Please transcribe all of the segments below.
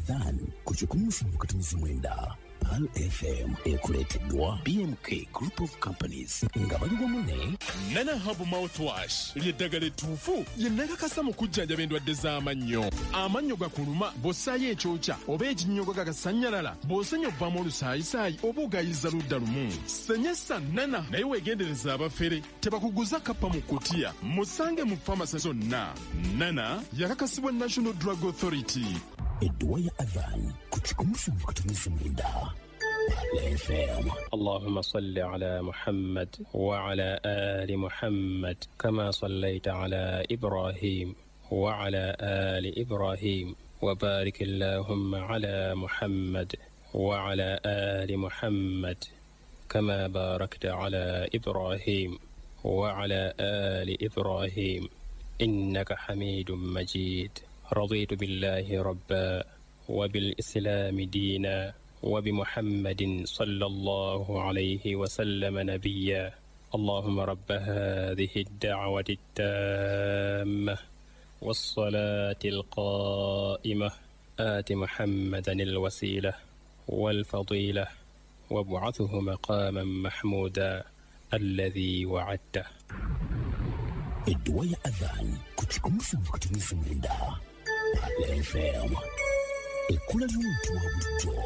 Adhan ku 107.9 Pearl FM ekuleeteddwa BMK Group of Companies nga bali wamu ne Nana Herbal Mouthwash ly'eddagala ettuufu lye nakakasa mu kujjanjaba endwadde z'amannyo. Amannyo gakuluma bw'ossaayo ekyokya oba ekinnyogo gagasannyalala, bw'osenya ovaamu olusaayisaayi oba ogayiza ludda lumu. Senyesa Nana naye weegendereza abafere tebakuguza kappa mu kutiya. Musange mu famasi zonna. Nana yakakasibwa National Drug Authority. Edduwa ya Adhan ku 107.9 Pearl FM. اللهم صل على محمد وعلى آل محمد كما صليت على إبراهيم وعلى آل إبراهيم وبارك اللهم على محمد وعلى آل محمد كما باركت على إبراهيم وعلى آل إبراهيم إنك حميد مجيد. رضيت بالله ربا وبالإسلام دينا وبمحمد صلى الله عليه وسلم نبيا. اللهم رب هذه الدعوة التامة والصلاة القائمة آت محمدا الوسيلة والفضيلة وابعثه مقاما محمودا الذي وعدته. Edduwa ya Adhan ku 107.9 Pearl FM. Ekkula ly'omuntu wa bulijjo.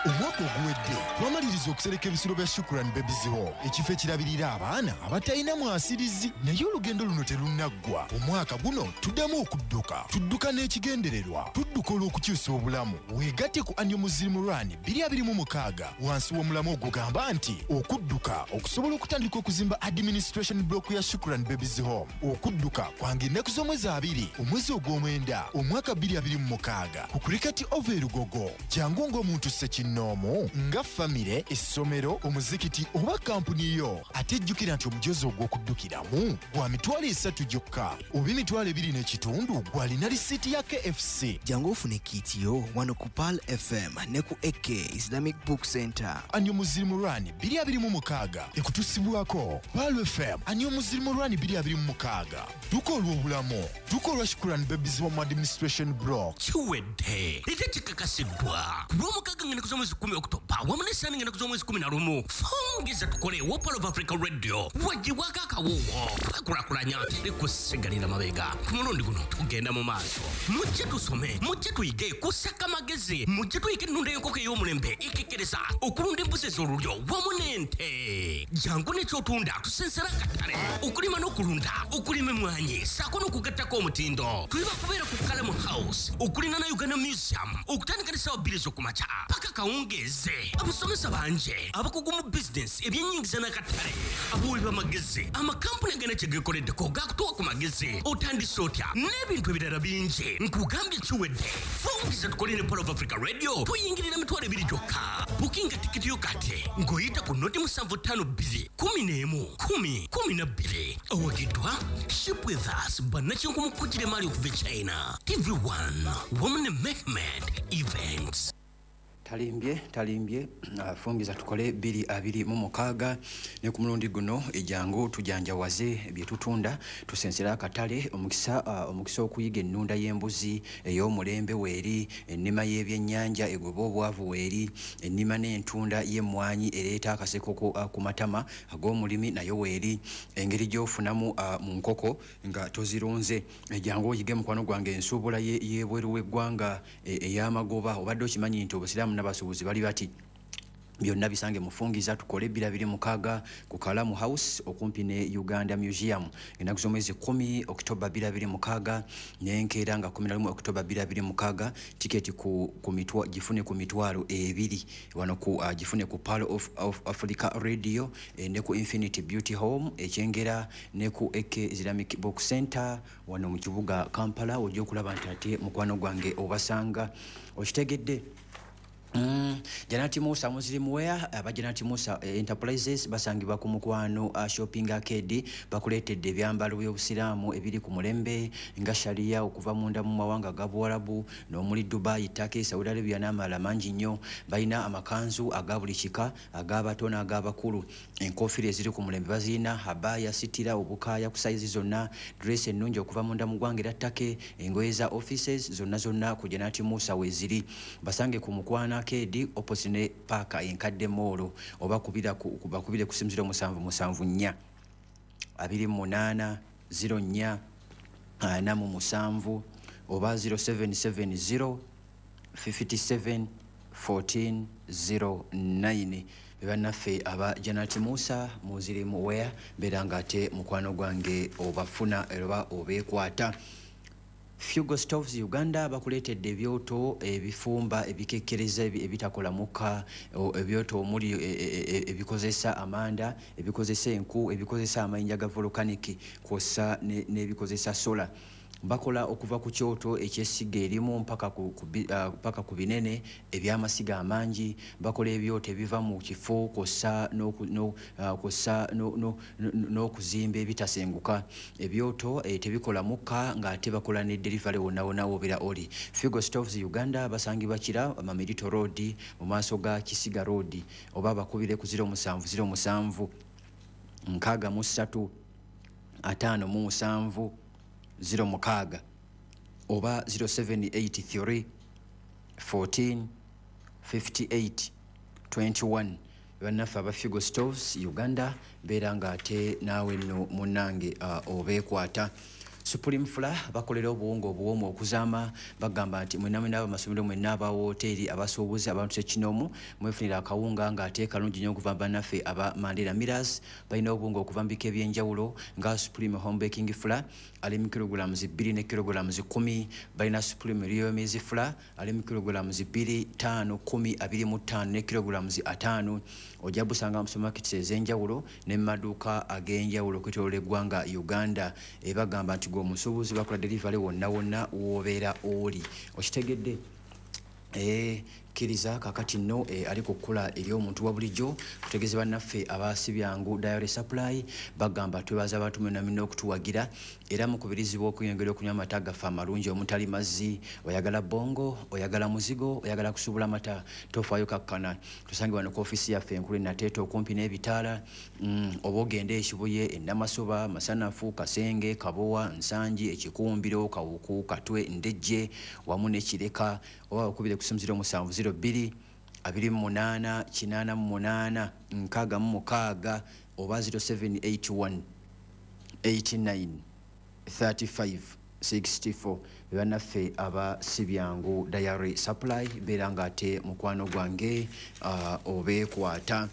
Omwaka oguwedde twamaliriza okusereka ebisulo bya Shukran Babies Home, ekifo ekirabirira abaana abatalina mwasirizi, naye olugendo luno terunnaggwa. Omwaka guno tuddamu okudduka, tudduka n'ekigendererwa, tudduka olw'okukyusa obulamu. Weegatte ku Annual Muslim Run 2026 wansi w'omulamu ogugamba nti okudduka okusobola okutandika okuzimba administration block ya Shukran Babies Home. Okudduka kwange ennaku z'omwezi 2 omwezi ogw'omwenda omwaka 2026 ku Cricket Oval e Lugogo. Jangu ng'omuntu ssekinnoomu, nga famire, essomero, omuzikiti oba kampuni yo. Ate jjukira nti omujoozi ogw'okuddukiramu gwa 30,000 gyokka oba 2,500 gw'alina risiiti ya KFC. Jangu ofune kit yo wano ku Pearl FM ne ku AK Islamic Book Center. Annual Muslim Run 2026 ekutusibwako Pearl FM. Annual Muslim Run 2026, dduka olw'obulamu, dduka olwa Shukran Babies Home Administration Block. Kiwedde ate kikakasiddwa ku Lwomukaaga ng'ennaku z'omwezi 10 Okutoba wamu n'Essaani ng'ennaku z'omwezi 11. Fungiza Tukole wa Pearl of Africa Radio wagibwako akawuwo. Twekulakulanya, teri kusigalira mabega. Ku mulundi guno tugenda mu maaso. Mujje tusome, mujje tuyige kusaka magezi, mujje tuyige ennunda y'enkoko ey'omulembe ekekkereza, okulunda embuzi ez'olulyo wamu n'ente. Jangu n'ekyotunda tusensera akatale, okulima n'okulunda, okulima emmwanyi ssaako n'okugattako omutindo. Tuli bakubeera ku Kalamu House okulina na Uganda Museum okutandika ne ssaawa 2 ez'okumakya paka kawungeeze. Abasomesa bangi abakugu mu bizinensi, ebyennyingiza n'akatale, abawi b'amagezi, amakampuni agana kye geekoleddeko gakutuwa ku magezi, otandise otya n'ebintu ebirala bingi. Nkugambye kiwedde. Fungiza Tukole ne Pearl of Africa Radio tuyingirira 20,000 gyokka. Bukinga tikiti yo kati ng'oyita ku 0752 11 10 12. Owagiddwa Ship With Us, bannakinku mu kukugira emaali okuva e China, TV1 wamu ne Mehmed Events. Talimbye, talimbye. Fungiza Tukole 2026 ne ku mulundi guno ejangu tujanjawaze bye tutunda, tusensera akatale. Omukisa okuyiga ennunda y'embuzi ey'omulembe weeri, ennima y'ebyennyanja egoba obwavu weeri, ennima n'entunda y'emmwanyi ereeta akaseko ku matama ag'omulimi nayo weeri, engeri gy'ofunamu mu nkoko nga tozirunze. Ejangu oyige, mukwano gwange, ensuubula y'ebweru w'eggwanga ey'amagoba. Obadde okimanyi nti obusiraamu n'abasuubuzi bali bati? Byonna bisange mufungiza Tukole 2026 ku Kalamu House okumpi ne Uganda Museum ennaku z'omwezi 10 Okitoba 2026 n'enkeera nga 11 Okitoba 2026. Tiketi ku mitwa, gifune ku 20,000 wano ku gifune ku Pearl of Africa Radio, ne ku Infinity Beauty Home Ekyengera ne ku AK Islamic Book Center wano mu kibuga Kampala. Ojja okulaba nti ate mukwano gwange obasanga okitegedde. Janati Musa Muslim Wear, aba Janati Musa Enterprises basangibwa ku Mukwano Shopping Arcade. Bakuleetedde ebyambalo by'obusiraamu ebiri ku mulembe nga sharia okuva munda mu mawanga ga Buwarabu n'omuli Dubai, Turkey, Saudi Arabia n'amalala mangi nnyo. Balina amakanzu aga buli kika, ag'abato n'ag'abakulu, enkofiira eziri ku mulembe bazirina, habaya, sitira, obukaaya ku sayizi zonna, dress ennungi okuva munda mu ggwanga era Turkey, engoye za offices zonna zonna ku Janati Musa weeziri. Basange ku Mukwano Arcade opposite ne paaka enkadde mall, oba bakubire ku simu 0774 28 04 47 oba 0770 57 14 09. Bannaffe aba Janati Musa Muslim Wear, beera nga ate mukwano gwange obafuna oba obeekwata. Fugo Stoves Uganda bakuleetedde ebyoto ebifumba ebikekkereza ebitakola mukka, ebyoto omuli ebikozesa amanda, ebikozesa enku, ebikozesa amayinja ga volcanic kw'ossa n'ebikozesa solar. Bakola okuva ku kyoto ekyessiga erimu mpaka ku binene ebyamasiga amangi. Bakola ebyoto ebiva mu kifo kw'ossa n'okuzimba ebitasenguka. Ebyoto tebikola mukka, ng'ate bakola ne delivery wonna wonna w'obeera oli. Figo Stoves Uganda basangibwa Kira, Mamerito Road, mu maaso ga Kisiga Road, oba bakubire ku 0707 63 57 06 oba 0783 14 58 21. Bannaffe aba Figo Stoves Uganda, beera ng'ate naawe nno munnange obeekwata. Supreme Flour bakolera obuwunga obuwoomu okuzaama. Bagamba nti mwenna mwenna abamasomero, mwenna aba woteeri, abasuubuzi, abantu sekinoomu, mwefunira akawunga ng'ate kalungi nnyo okuva bannaffe aba Mandela Millers. Balina obuwunga okuva mu bika ebyenjawulo nga Supreme Home Baking Flour ali mu kilograms 2 ne kilograms 10. Balina Supreme Real Maize Flour ali mu kilograms 2, 5, 10, 25 ne kilograms 50. Ojja busanga mu supermarkets ez'enjawulo ne mu maduuka ag'enjawulo okwetooloola eggwanga Uganda. Ebagamba nti gwe omusuubuzi bakola delivery wonna wonna w'obeera oli. Okitegedde? Kkiriza kakati nno ali ku kkula eri omuntu wa bulijjo kutegeeza bannaffe aba Sibyangu Dairy Supply. Bagamba twebaza abantu mwenna mwenna okutuwagira, era mukubirizibwa okweyongera okunywa amata gaffe amalungi omutali mazzi. Oyagala bongo, oyagala muzigo, oyagala kusuubula mata, tofaayo, kakkana tusange wano ku ofiisi yaffe enkulu e Nateete okumpi n'ebitaala, oba ogende Ekibuye, Enamasuba, Masanafu, Kasenge, Kabowa, Nsangi, Ekikumbiro, Kawuku, Katwe, Ndejje wamu ne Kireka, oba bakubire ku simu 0702 28 88 66 oba 0781 89 35 64. Bannaffe aba Sibyangu Dairy Supply, beera ng'ate mukwano gwange obeekwata.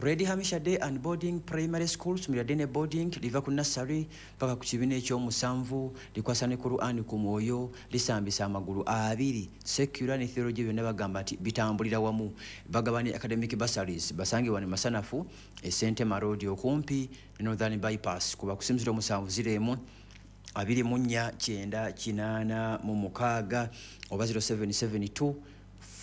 Red Hamisha Day and Boarding Primary School, ssomero lya day ne boarding, liva ku nursery paka ku kibiina ekyomusanvu, likwasa ne Quran ku mwoyo, lisambisa amagulu abiri. Secular ne theology byonna bagamba nti bitambulira wamu. Bagaba ne academic bursaries. Basange wano Masanafu, Esentema Road, okumpi ne Northern Bypass. Kuba ku simu 0701 24 9 86 oba 0772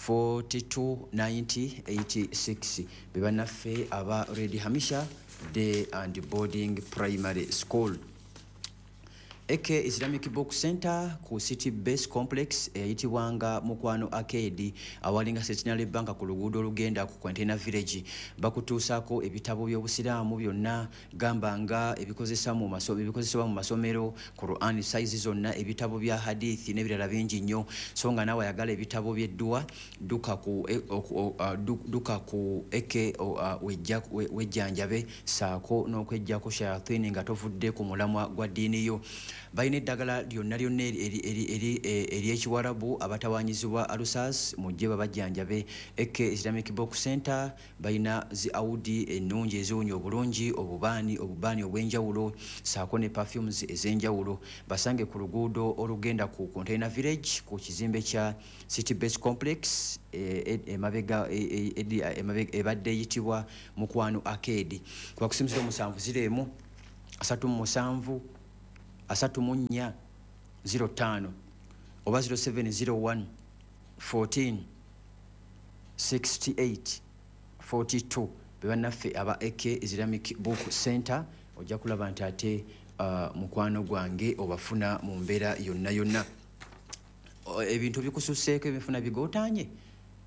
42 90 86. Be bannaffe aba Red Hamisha Day and Boarding Primary School. AK Islamic Book Center ku City Base Complex eyitibwanga Mukwano Arcade, awalinga Centenary Bank ku luguudo olugenda ku Container Village, bakutuusaako ebitabo by'obusiraamu byonna, gamba nga ebikozesebwa mu masomero, Quran size zonna, ebitabo bya hadithi n'ebirala bingi nnyo. So nga naawe ayagala ebitabo by'edduwa, dduka ku AK wejjanjabe saako n'okweggyako shayatini nga tovudde ku mulamwa gwa ddiini yo. Balina eddagala lyonna lyonna ery'ekiwarabu. Abatawanyizibwa alusas, mujje babajjanjabe. AK Islamic Book Center balina zi audi ennungi eziwunya obulungi, obubaani obw'enjawulo saako ne perfumes ez'enjawulo. Basange ku luguudo olugenda ku Container Village ku kizimbe kya City Base Complex, emabega ebadde eyitibwa Mukwano Arcade. Kuba ku simu 0701 37 34 05 oba 0701 14 68 42 bebannaffe aba AK Islamic Book Center. Ojja kulaba nti ate mukwano gwange obafuna mu mbeera yonna yonna. Ebintu bikususseeko, ebifuna bigootanye,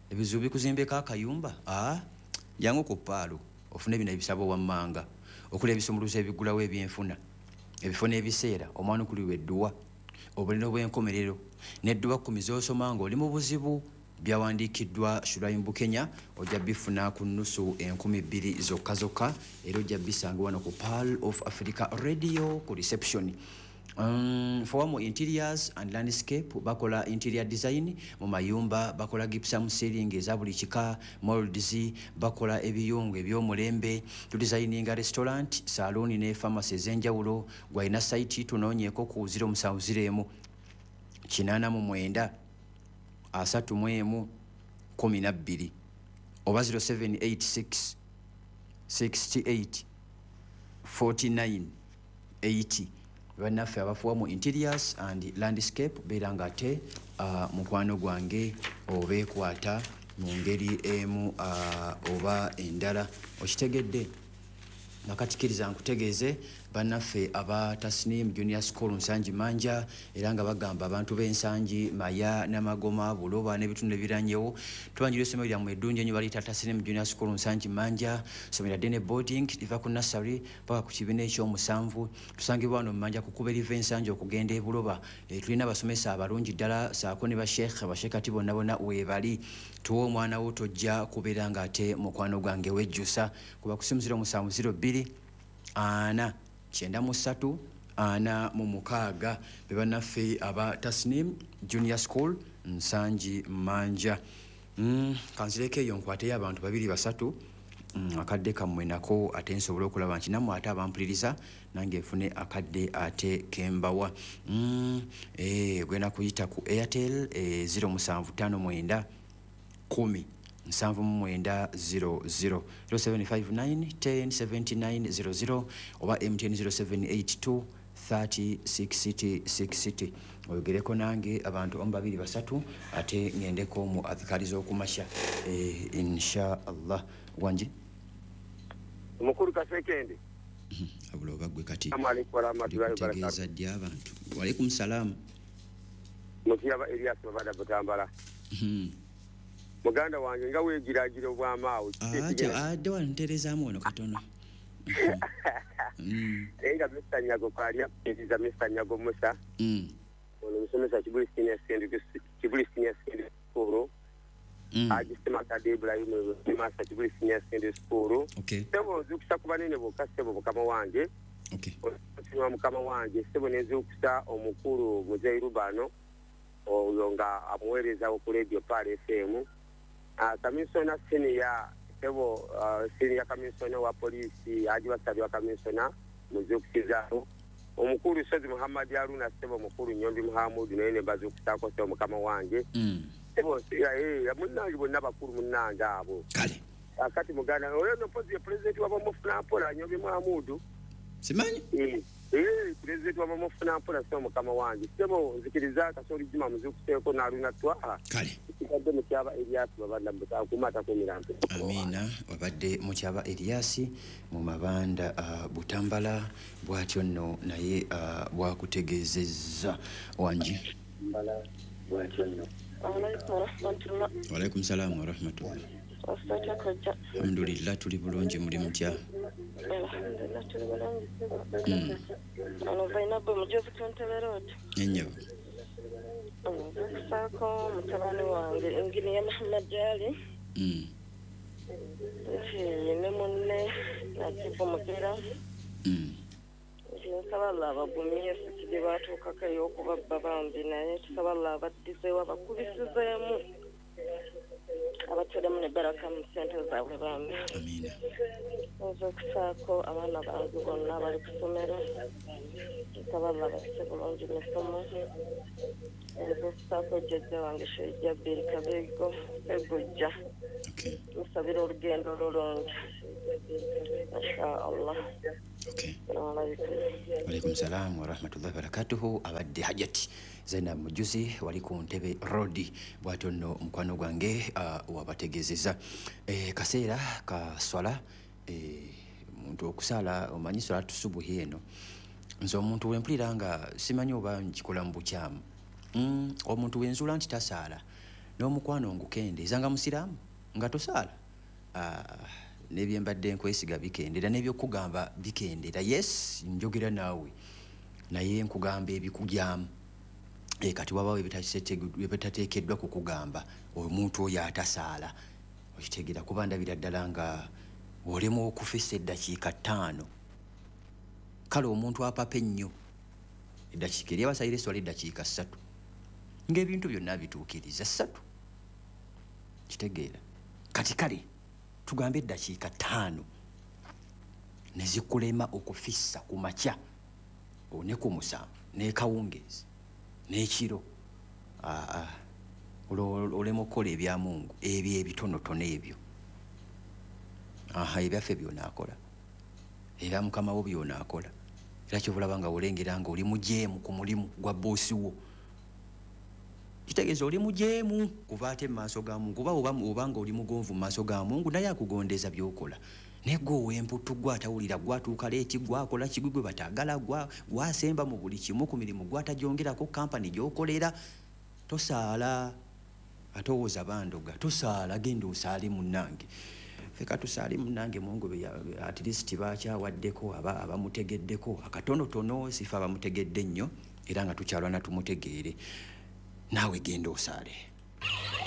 ebizibu bikuzimbeko akayumba, jangu ku Paalo ofune bino ebisabo wammanga okuli ebisumuluzo ebigulawo ebyenfuna, ebifo n'ebiseera, omwanukulirwa edduwa, obulino bw'enkomerero n'edduwa 10 z'osoma ng'oli mu buzibu, byawandiikiddwa Shuraim Bukenya. Ojja bifuna ku nnusu 2000 zokka zokka, era ojja bisanga wano ku Pearl of Africa Radio ku reception. Fowamu Interiors and Landscape bakola interior design mu mayumba, bakola gypsum ceiling eza buli kika, molds, bakola ebiyungu eby'omulembe, tudesigninga restaurant, saloon ne pharmacy ez'enjawulo. Gwalina site tunoonyeeko ku 0701 89 31 12 oba 0786 68 49 80. Bannaffe abafuwa mu Interiors and Landscape beera nga ate mukwano gwange obeekwata mu ngeri emu oba endala. Okitegedde? Nakatikiriza nkutegeeze bannaffe aba Tasnim Junior School Nsangi Manja, era nga bagamba abantu b'Ensangi, Maya, Namagoma, Buloba n'ebitundu ebiranyewo, tubanjira essomero lyammwe eddungi ennyo baliyita Tasnim Junior School Nsangi Manja, ssomero lya day boarding, liva ku nursery paka ku kibiina ekyomusanvu. Tusangibwa wano mu Manja ku kkubo eriva Ensangi okugenda e Buloba. Tulina abasomesa abalungi ddala saako ne basheekh, basheekati bonna bonna weebali. Tuwe omwana wo, tojja kubeera ng'ate mukwano gwange wejjusa. Kuba ku simu 0702 4 93 46 be bannaffe aba Tasnim Junior School Nsangi Manja. Kanzireko eyo nkwateyo abantu 2 3 akadde kammwe nako ate nsobole okulaba nti nammwe ate abampuliriza nange nfune akadde ate kembawa. Gwenda kuyita ku Airtel 0759 10 79 00 0759 10 79 00 oba MTN 0782 30 60 60. Oyogereko nange abantu omu 2 3 ate ngendeko mu adhikari z'okumasha insha Allah. Wangi omukulu Kasekende abula oba gwe kati tegeeza ddi abantu. Walaikum salamu. Mukiyaba Elias Babada Butambala. Muganda wange nga weegiragira obwamaawo. Adde wano ntereezaamu wano katono. Naye nga Mr. Nyago kwali akutegeeza Mr. Nyago Musa. Ono musomesa Kibuli Senior Secondary School. Agisema Kade Ibrahim Masa Kibuli Senior Secondary School. Ssebo nzuukusa ku banene bokka ssebo mukama wange. Osinwa mukama wange ssebo ne nzuukusa omukulu Muzeeyi Rubano oyo nga amuweereza ku Radio Pearl FM. Kamisona senior ssebo, senior kamisona wa poliisi Haji Wasabi wa kamisona muzuukusizaako. Omukulu Sozi Muhammad Haruna ssebo, mukulu Nyombi Muhammad naye ne bazuukusaako ssebo mukama wange. Ssebo munnange bonna bakulu munnange abo. Kale akati muganda oyo no pozi ya president wabamufuna mpola Nyombi Muhammad simanyi president wabamufuna mpola ssebo mukama wange. Ssebo nzikiriza Kasoli Juma muzuukuseeko n'Aruna Twaha. Kale kibadde Mukyaba Elias Babanda Mutakumata ku Mirambo. Amiina. Wabadde Mukyaba Elias mu Mabanda Butambala bw'atyo nno naye bwakutegeezezza. Wangi. Walaikum salaam wa rahmatullah. Alhamdulillah tuli bulungi, muli mutya? Alhamdulillah tuli bulungi. Ono Zainabu mujozi ku Entebbe Road. Ennyabo. Nzuukusaako mutabani wange Engineer Muhammad Ali. Nti ne munne Najibu Mugira. Nti nsaba Allah abagumye siki gye baatuukako ey'okubabba bambi, naye tusaba Allah abaddizeewo abakubisizeemu abateremu ne baraka mu ssente zaabwe bambi. Amiina. Nzuukusaako abaana bange bonna abali ku ssomero, nsaba Allah abayise bulungi misomo. Nzuukusaako jjajja wange Sheikh Jabiri Kabego Segujja. Musabira olugendo olulungi insha Allah. Alaikum salam wa rahmatullahi wa barakatuhu. Abadde Hajati Zainab Mujuzi wali ku Ntebe Road. Bwatyo nno mukwano gwange wabategeezeza. Kaseera ka swala, omuntu okusaala, omanyi swala tusubuhi eno, nze omuntu wempulira nga simanyi oba nkikola mu bukyamu. Omuntu wenzuula nti tasaala n'omukwano ngukendeeza, nga musiraamu nga tosaala, n'ebyembadde nkwesiga bikendera, n'ebyokugamba bikendera. Yes, njogera naawe naye nkugamba ebikugyamu. Kati wabawo ebitateekeddwa kukugamba omuntu oyo atasaala, okitegeera? Kuba ndabira ddala nga olema okufisa eddakiika 5. Kale omuntu apapa ennyo eddakiika eri abasalira eswala eddakiika 3, ng'ebintu byonna bituukiriza 3, kitegeera? Kati kale tugambe eddakiika 5 ne zikulema okufissa ku makya ne ku 7 n'ekawungeezi n'ekiro, olema okukola ebya Mungu ebyo ebitonotono ebyo. Ebyaffe byonaakola, era mukama wo byonaakola. Era kyova olaba nga olengera nga oli mujeemu ku mulimu gwa boosi wo, kitegeeza oli mujeemu kuva ate mu maaso ga Mungu. Kuba oba nga oli mugonvu mu maaso ga Mungu, naye akugondeza by'okola. Naye gwe ow'emputu, gwe atawulira, gwe atuuka late, gwe akola kigwi, gwe bataagala, gwasemba mu buli kimu ku mirimu, gwatagyongerako kampani gy'okolera, tosaala, ate owooza bandoga. Tosaala, genda osaale munnange. Feka tusaale munnange. Mungu at least bakyawaddeko abamutegeddeko akatonotono, sife abamutegedde nnyo, era nga tukyalwana tumutegeere. Naawe genda osaale.